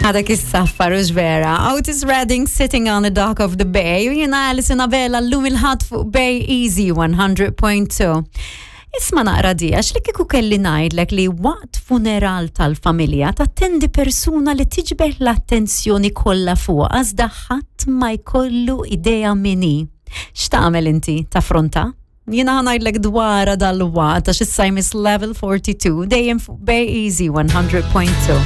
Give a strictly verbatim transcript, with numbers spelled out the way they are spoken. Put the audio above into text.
Għadak is-saffar u vera. Otis Redding sitting on the dock of the bay. U jiena Alison Abela llum il-Ħadd fuq Bay Easy one hundred point two. Isma' naqra di, għax li kieku kelli ngħidlek li waqt funeral tal-familja tattendi persuna li tiġbed l-attenzjoni kollha fuq iżda ħadd ma jkollu idea min hi. X'tagħmel inti taffronta? Jiena ħa ngħidlek dwarha dalwaqt għax issa jmiss Level forty-two dejjem fuq Bay Easy one hundred point two.